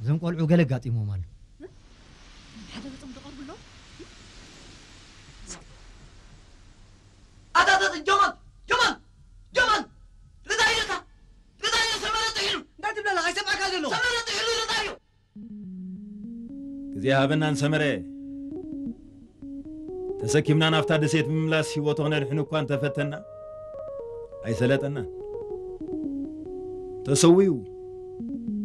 እዞም ቆልዑ ገለ ኣጋጢሞም ኣሎ። ሓደ ገጾም ዝቐርቡ ኣለዉ። ኣታታት ጀማል ጀማል ጀማል ርዳኢልካ ርዳኢሉ ሰመረ ጥሒሉ እንታይ ትብለና ኣይሰምዓካ ዘሎ ሰመረ ጥሒሉ ርዳኢሉ ግዜ ሃበናን ሰመረ ተሰኪምና ናብታ ደሴት ብምምላስ ህይወቱ ክነድሕን እኳ እንተፈተና ኣይሰለጠናን። ተሰዊኡ